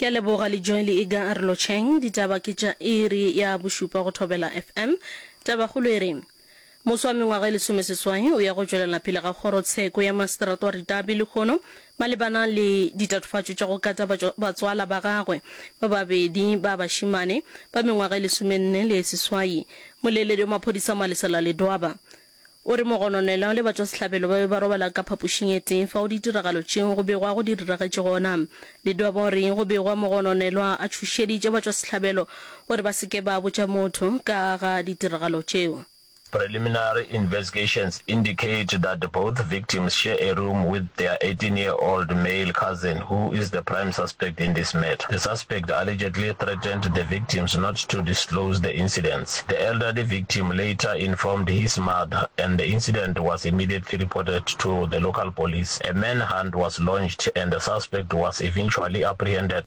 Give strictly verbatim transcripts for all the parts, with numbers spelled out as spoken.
Ke a leboga le Joy le Iga a re lotšheng. Ditaba ke tša iri ya bošupa go Thobela F M. Tabakgolo e re, Moswa wa mengwaga e lesomeseswai o ya go tšwelela pele ga kgorotsheko ya maseterata wa Ritabi lehono malebana le ditatofatšo tša go kata batswala ba gagwe ba babedi ba bašemane ba mengwaga e lesomenne le e seswai. Moleledi wa maphodisa Malesela Ledwaba o re mogononelwa le batšwasehlabelo ba be ba robala ka phapošing e tee fao ditiragalo tšeo go begwago di diragetše gona. Ledwaba o re go begwa mogononelwa a tšhošeditše batšwasehlabelo gore ba se ke ba botša motho ka ga ditiragalo tšeo. Preliminary investigations indicate that both victims share a room with their eighteen-year-old male cousin who is the prime suspect in this matter. The suspect allegedly threatened the victims not to disclose the incidents. The elderly victim later informed his mother and the incident was immediately reported to the local police. A manhunt was launched and the suspect was eventually apprehended.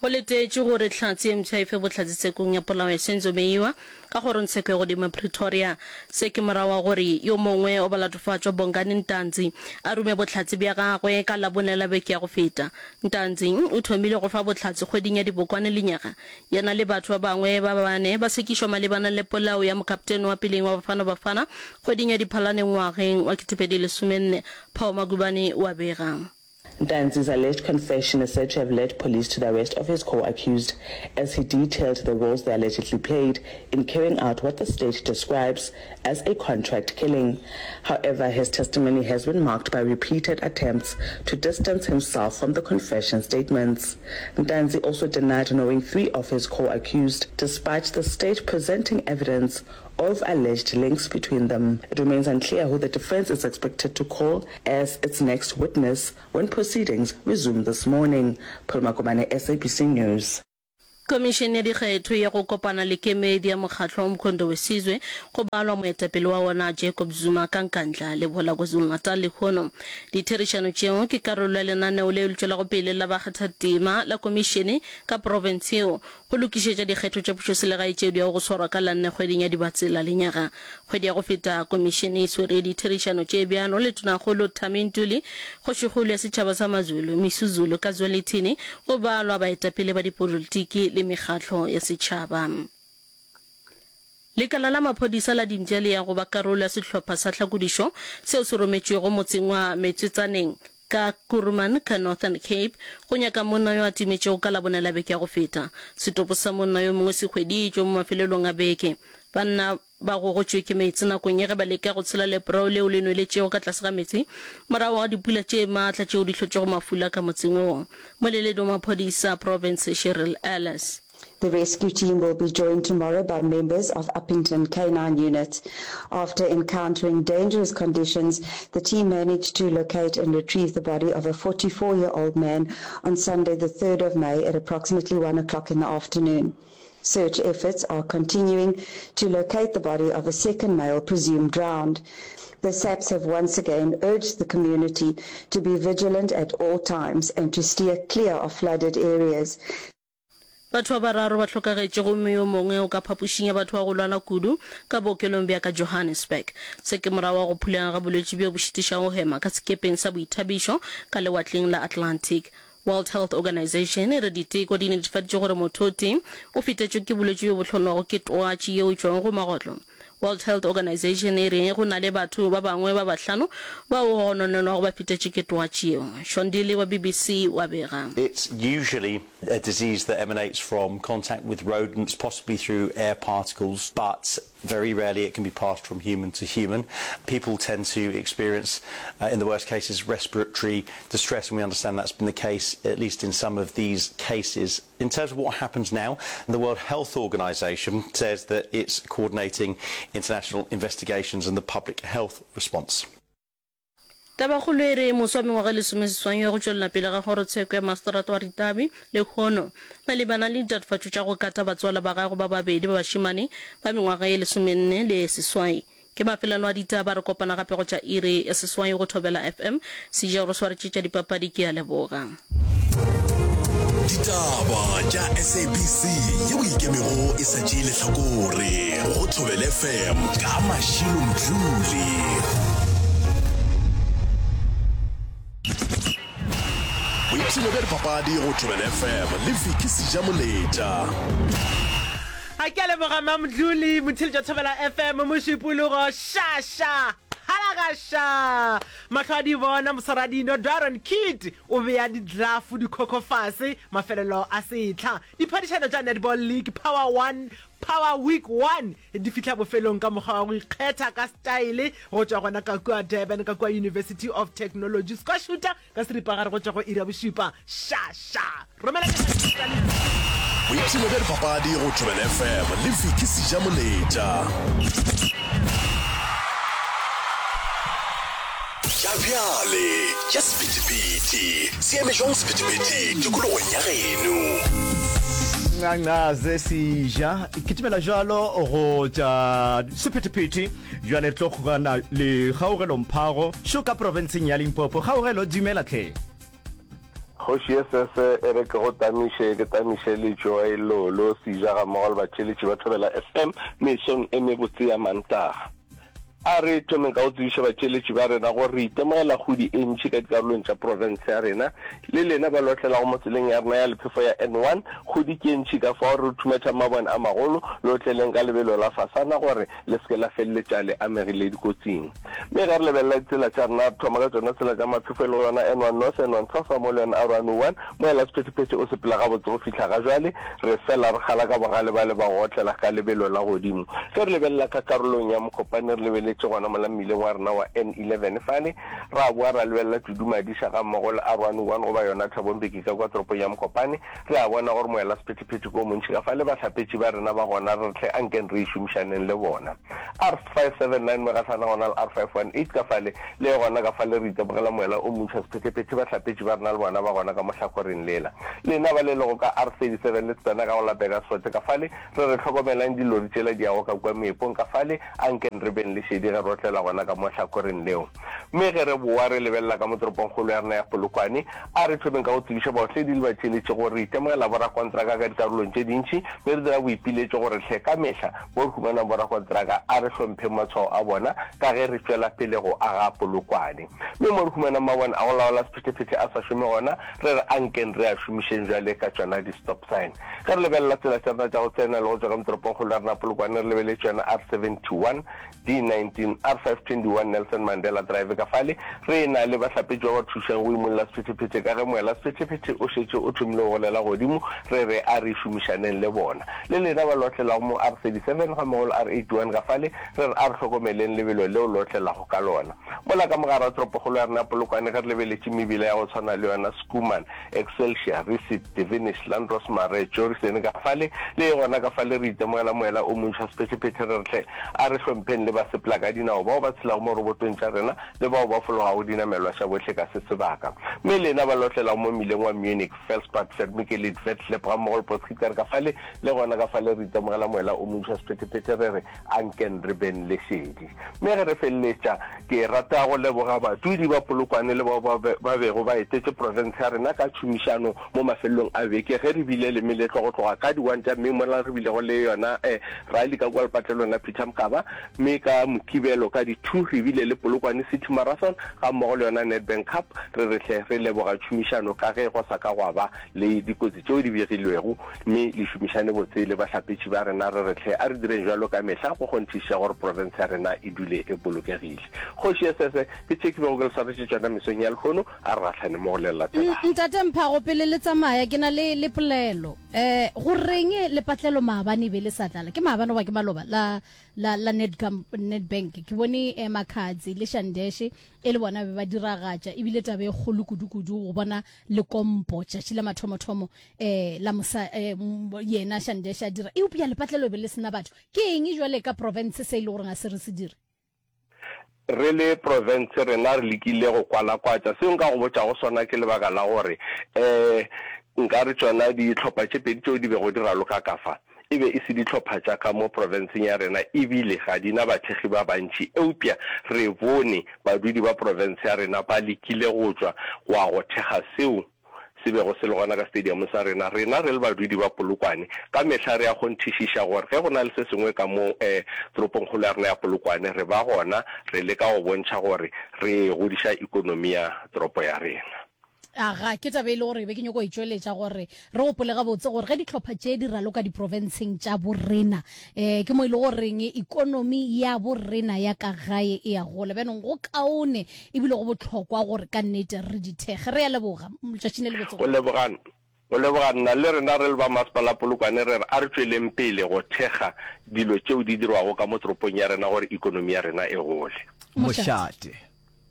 Go letetšwe gore Hlatse ye mpsha e fe bohlatse tshekong ya polao ya Senzo Meyiwa ka kgorongtsheko ya godimo ya Pretoria. Se ke morago ga gore yo mongwe wa balatofatšwa, Bongani Ntanzi, a rume bohlatse bja gagwe ka Labone la beke ya go feta. Ntanzi o thomile go fa bohlatse kgweding ya Dibokwane lenyaga. Yena le batho ba bangwe ba bane ba sekišwa malebana le polao ya mokaptene wa peleng wa Bafana Bafana kgweding ya Diphalane ngwageng wa ketepedi lesomenne. Paul Magubane o a bega. Ntanzi's alleged confession is said to have led police to the arrest of his co-accused as he detailed the roles they allegedly played in carrying out what the state describes as a contract killing. However, his testimony has been marked by repeated attempts to distance himself from the confession statements. Ntanzi also denied knowing three of his co-accused, despite the state presenting evidence of alleged links between them. It remains unclear who the defense is expected to call as its next witness when proceedings resume this morning. Pearl Makomane, S A B C News. Khomišene ya Dikgetho ya go kopana le kemedi ya mokgatlo wa Umkhonto weSizwe go balwa moetapele wa wona Jacob Zuma ka Nkandla, Lebola KwaZulu-Natal lehono. Ditherišano tšeo ke karolo ya lenaneo leo le tšwelago pele la bakgathatema la komišene ka profense yeo go lokišetša dikgetho tša pušoselegae tšeo di yago go swarwa ka la nne kgweding ya Dibatsela lenyaga. Kgwedi ya go feta komišene e swere ditherišano tše bjalo le Tonakgolo Thami Ntuli, Kgošikgolo ya setšhaba sa Mazulu, Misuzulu ka Zwelithini, go balwa baetapele ba dipolitiki le mekgatlo ya setšhaba. Lekala la maphodisa la Dimpša le ya go ba karolo ya sehlopha sa tlhakodišo seo se rometšwego motseng wa Metswetsaneng ka Kuruman ka Northern Cape go nyaka monna yo a timetšego ka Labone la beke ya go feta. Setopo sa monna yo mongwe se hweditšwe mo mafelelong a beke. Banna ba gogotšwe ke meetse nakong ya ge ba leka go tshela leprao leo le nweletšego ka tlase ga meetse morago ga dipula tše maatla tšeo di hlotšego mafula ka motseng woo. Moleledi wa maphodisa a profense Cheryl Ellis. The rescue team will be joined tomorrow by members of Upington K nine Unit. After encountering dangerous conditions, the team managed to locate and retrieve the body of a forty-four-year-old man on Sunday, the third of May at approximately one o'clock in the afternoon. Search efforts are continuing to locate the body of a second male presumed drowned. The S A P S have once again urged the community to be vigilant at all times and to steer clear of flooded areas. Batho ba bararo ba hlokagetše gomme yo mongwe o ka phapošing ya batho ba go lwala kudu ka bookelong bja ka Johannesburg. Se ke morago ga go phulega ga bolwetši bjo bo šitišago go hema ka sekepeng sa boithabišo ka lewatleng la Atlantic. World Health Organization e re diteko di netefaditše gore motho o tee o fetetšwe ke bolwetši bjo bo hlolwago ke twatši yeo e tšwago go magotlo. World Health Organization e re go na le batho ba bangwe ba bahlano bao go gononelwago ba fetetše ke twatši yeo. Sean Dilley wa B B C o a bega. It's usually a disease that emanates from contact with rodents, possibly through air particles, but very rarely it can be passed from human to human. People tend to experience, uh, in the worst cases, respiratory distress, and we understand that's been the case, at least in some of these cases. In terms of what happens now, the World Health Organization says that it's coordinating international investigations and the public health response. Tabakgolo e re moswa wa mengwaga e lesomeseswai ya go tšwelela pele ga kgorotsheko ya maseterata wa Ritavi lehono malebana le ditatofatšo tša go kata batswala ba gagwe ba babedi ba bašemane ba mengwaga ye lesomenne le ye seswai. Ke mafelelo a ditaba, re kopana gape go tša iri ya seswai go Thobela F M. Seja o re swaretše tša dipapadi, ke a leboga. Ditaba tša S A B C yeo e ikemego e sa tšee lehlakore go Thobela F M ka Mashilo Mdluli. Boipshino bja dipapadi go Thobela F M le Vicky Sejamoletša. A ke a leboga Mamdluli, motheeletši wa Thobela F M, Mošupologo, ša ša, phalagaša, mahlo a di bona, moswaradino, Darren Kidd o bea diglafo dikhokho fase, mafelelo a sehla. Diphadišano tša Netball League Power One, Power Week One di fihla bofelong ka mokgwa wa go ikgetha ka setaele go tšwa gona ka kua Durban ka kua University of Technology. Squashuta ka seripagare go tšwa go iri ya bošupa. Ša ša! Romela tša le. Boipshino bja dipapadi go Thobela F M le Vicky Sejamoletša. Tša bjale tša sephethephethe se eme jwang sephethephethe tikologong ya geno? Ncancaze seja kitimela jalo go tša sephethephethe bjale re tlo kgokana le Kgaogelo Mphago šo ka profenseng ya Limpopo. Kgaogelo, dumela hle. Kgoši ye sese e re ke go tamiše, ke tamiše le Joy, Lolo, Seja gammogo le batšeletši ba Thobela F M mesong e mebotse ya Mantaga. A re thomeng ka go tsebiša batšeletši ba rena gore re itemogela kgodi e ntši ka dikarolong tša profense ya rena. Le lena ba lotlelago mo tseleng ya rena ya lephefo ya N one, kgodi ke e ntši ka fao re thumetša mabone a magolo, lotleleng ka lebelo la fasana gore le se ke la feleletša le amegile dikotsing. Mme ge re lebelela ditsela tša rena, re thoma ka tšona tsela tša maphefo e lego yona N one North, N one South gammogo le yona R one oh one. Moela sephethephethe o sepela gabotse go fihla ga jwale, re fela re kgala ka bogale bale ba go otlela ka lebelo la godimo. Ge re lebelela ka karolong ya Mokopane re lebeletše gona mola mmileng wa rena wa N eleven fale, ra boa ra lebelela Tudumadiša gammogo le R one oh one goba yona Thabo Mbeki ka kua toropong ya Mokopane, re a bona gore moela sephethephethe ke o montši ka fale, bahlapetši ba rena ba gona re re hle ankeng re e šomišaneng le bona. R five seven nine Megahlana gona le R five one eight ka fale, le gona ka fale re itemogela moela o montši wa sephethephethe, bahlapetši ba rena le bona ba gona ka mo hlakoreng lela. Lena ba le lego ka R thirty seven le tsena ka go la Burgersfort ka fale, re re hlokomelang dilori tšela di yago ka kua meepong ka fale, anken re beng le šedi ge re otlela gona ka mo hlakoreng leo. Mme ge re bowa re lebelela ka mo toropongkgolo ya rena ya Polokwane, a re thomeng ka go tsebiša baotledi le batšeletši gore re itemogela borakontraka ka dikarolong tše dintši, mme re dira boipiletšo gore hle ka mehla mo re humanang borakontraka a re hlompheng matshwao a bona ka ge re tšwela pele go aga Polokwane. Mme mo re humanang mabone a go laola sephethephethe a sa šome gona, re re ankeng re a šomišeng bjale ka tšona di-stop sign. Ge re lebelela tsela tša rena tša go tsena le go tšwa ka mo toropongkgolo ya rena Polokwane, re lebeletše yona R seventy one, D nineteen, R five twenty one Nelson Mandela Drive ka fale, re e-na le bahlapetši ba ba thušang go imolla sephethephethe ka ge moela sephethephethe o šetše o thomile go golela godimo, re re a re šomišaneng le bona. Le lena ba lotlelago mo R thirty seven gammogo le R eighty one ka fale, re re a re hlokomeleng lebelo leo lotlelago ka lona. Mola ka mogare wa toropokgolo ya rena ya Polokwane ge re lebeletše mebila ya go tshwana le yona Schoeman, Excelsior, Resit, Devenish, Landros Marais, Jorissen ka fale, le e gona ka fale re itemogela moela o montši wa sephethephethe re re hle a re hlompheng le basepelakadinao bao ba tshelago mo robotong tša rena le bao ba fologago dinamelwa tša bohle ka se sebaka. Mme lena ba lotlelago mo mmileng wa Munich, Felspad, Vermikelid, Vetlep gammogo le Potgieter ka fale, le gona ka fale re itemogela moela o montši wa sephethephethe re re anken re beng le šedi. Mme ge re feleletša, ke rata go leboga badudi ba Polokwane le bao ba ba bego ba etetše profense ya rena ka tšhomišano mo mafelelong a beke ge re bile le meletlo go tloga ka di one tša May mola re bilego le yona rally ka kua lepatlelong la Peter Mokaba, mme ka Mokibelo ka di two re bile le Polokwane City Marathon gammogo le yona Nedbank Cup. Re re hle re leboga tšhomišano ka ge go sa ka gwa ba le dikotsi tšeo di begilwego, mme le šomišane botse le bahlapetši ba rena. Re re hle a re direng bjalo ka mehla go kgonthišiša gore profense ya rena e dule e bolokegile. Kgoši Esese, ke tše ke bego ke le swaretše tšona mesong ya lehono, a re gahlane mo go le latelago. Ntate Mphago, pele le tsamaya, ke na le, le polelo. Um go reng lepatlelo maabane e be le sa tlala? Ke maabane goba ke maloba la, la, la Nedcam, Nedbank? Ke bone eh, Makhadzi le Shandeshe e le bona be ba diragatša, ebile taba e kgolo kudu-kudu go bona lekompo tšatši la mathomothomo eh, la mosa, eh, yena Shandeshe a dira, eupša lepatlelo e be le sena batho. Ke eng jwale ka profense se e le goreng a se re se dire? Re le profense rena re lekile go kwalakwatša. Seo nka go botšago sona ke lebaka la gore um nka re tšona dihlopha tše pedi tšeo di bego di raloka ka fa e be e se dihlopha tša ka mo profenseng ya rena ebile ga di na bathekgi ba bantši, eupša re bone badudi ba profense ya rena ba lekile go tšwa go ya go thekga seo se bego se le gona ka stadium sa rena. Rena re le badudi ba Polokwane, ka mehla re a kgonthišiša gore ge go na le se sengwe ka mo toropongkgolo ya rena ya Polokwane, re ba gona, re leka go bontšha gore re godiša ikonomi ya toropo ya rena. Aga, ke taba e le gore be ke nyoko e tšweletša gore re gopole gabotse gore ge dihlopha tše di raloka diprofenseng tša borena, um ke mo e le goreng ikonomi ya borena ya ka gae e a gola. Bjanong go kaone ebile go bohlokwa gore ka nnete re di thekge. Re a leboga. Letšatši le lebotse Go go. leboga, go leboga nna. Le rena re le ba Masepala Polokwane re re a re tšweleng pele go thekga dilo tšeo di dirwago ka mo toropong ya rena gore ikonomi ya rena e gole. Mošate.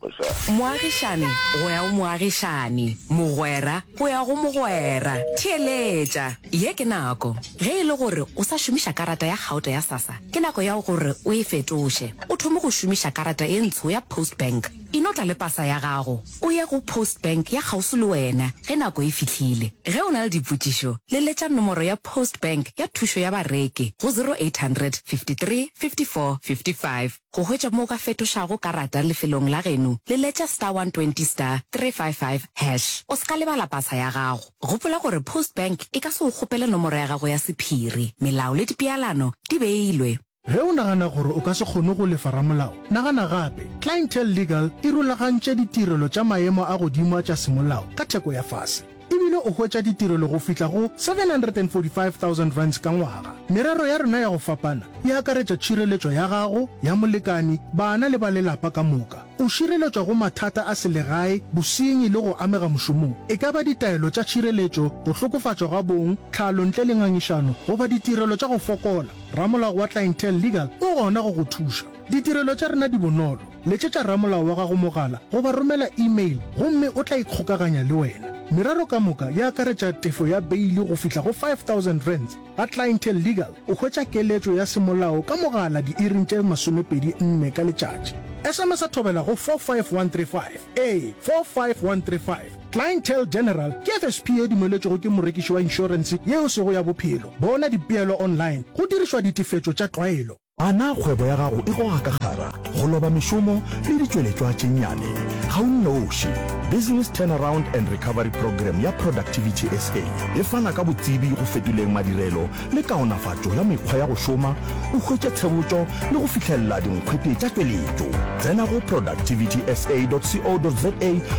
Moagišani go ya go moagišani, mogwera go ya go mogwera. Theeletša! Ye ke nako. Ge e le gore o sa šomiša karata ya gauta ya SASSA, ke nako ya gore o e fetoše, o thome go šomiša karata ye ntsho ya Postbank. E no tla le pasa ya gago, o ye go Postbank ya kgauswi le wena ge nako e fihlile. Ge o na le dipotšišo, leletša nomoro ya Postbank ya thušo ya bareki go zero eight hundred fifty three fifty four fifty five. Go hwetša mo o ka fetošago karata lefelong la geno, leletša star one twenty star three five five hash. O se ka lebala pasa ya gago. Gopola gore Postbank e ka se go kgopele nomoro ya gago ya sephiri. Melao le dipeelano di beilwe. Ge o nagana gore o ka se kgone go lefa ramolao, nagana gape. Clientele Legal e rulagantše ditirelo tša maemo a godimo tša semolao ka theko ya fase. E bile o hwetša ditirelo go fihla go seven hundred and forty five thousand rands ka ngwaga. Merero ya rena ya go fapana e akaretša tšhireletšo ya gago, ya molekani, bana le ba lelapa ka moka. O šireletšwa go mathata a selegae, bosenyi le go amega mošomong, e ka ba ditaelo tša tšhireletšo, go hlokofatšwa ga bong, tlhalo ntle le ngangišano goba ditirelo tša go fokola. Ramolao wa Clientele Legal o gona go go thuša. Ditirelo tša rena di bonolo. Letšetša ramolao wa gago mogala goba romela email gomme o tla ikgokaganya le wena. Merero ka moka e akaretša tefo ya beili go fihla go five thousand rands. Ga Clientele Legal o hwetša keletšo ya semolao ka mogala diiring tše masomepedi nne ka letšatši. S M S a thobela go four five one three five. Ee, four five one three five. Clientele General ke F S P e dumeletšwego ke morekiši wa inšorense yeo e sego ya bophelo. Bona dipeelo online go dirišwa ditefetšo tša tlwaelo. A na kgwebo ya gago e goga ka kgara, go loba mešomo le ditšweletšwa tše nnyane? Ga o nnoši. Business Turnaround and Recovery Programme ya Productivity S A e fana ka botsebi go fetoleng madirelo le kaonafatšo ya mekgwa ya go šoma, o hwetše tshebotšo le go fihlelela dinkgwete tša tšweletšo. Tsena go productivity S A dot co dot za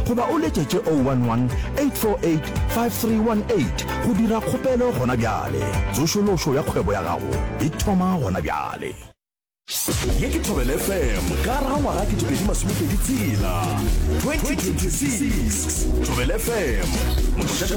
goba o letšetše oh one one, eight four eight, five three one eight go dira kgopelo gona bjale. Tsošološo ya kgwebo ya gago e thoma gona bjale. Ye ke Thobela F M ka gare ga ngwaga ketepedi masomepedi tshela, twenty twenty six. Thobela F M, mošate